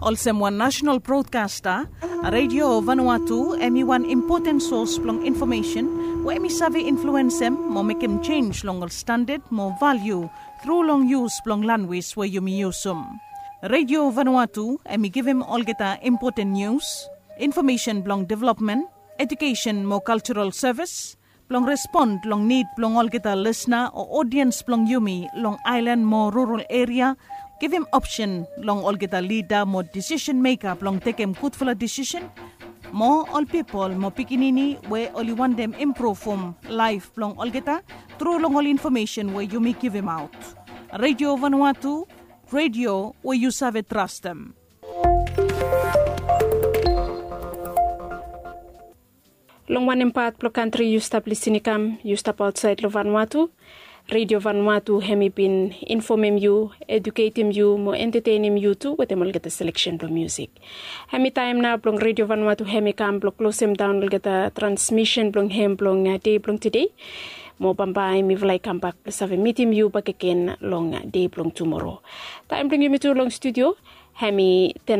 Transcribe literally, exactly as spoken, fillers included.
Olsem wan nasenal brodkasta, Redio Vanuatu hem i wan impoten sos blong infomesen we hem i save influensem mo mekem jenj long ol standad mo valiu tru long yus blong lanwis we yumi yusum. Redio Vanuatu hem i givim olgeta impoten nius, infomesen blong developmen, ejukesen mo kaljaral sevis, blong respon long nid blong olgeta lisna o odiens blong yumi long aelan mo rural eria, givim opsen long olgeta lida mo disisen meka blong tekem gudfala disisen, mo ol pipol mo pikinini we oli wantem impruvum laef blong olgeta tru long ol infomesen we yumi givimaot. Redio Vanuatu, redio we yu save trastem. Long wanem pat blong kantri yu stap lisin i kam, yu stap aotsaed long Vanuatu, Redio Vanuatu hem i bin infomem yu, ejuketem yu mo entatenem yu tu wetem olgeta seleksen blong miusik. Hem i taem nao blong Redio Vanuatu hem i kam blong klosemdaon olgeta transmisen blong hem blong dei blong tede. Mo bambae mifala i kambak blong save mitim yu bakegen long dei blong tumoro. Taem blong yumi tu long studio hem i ten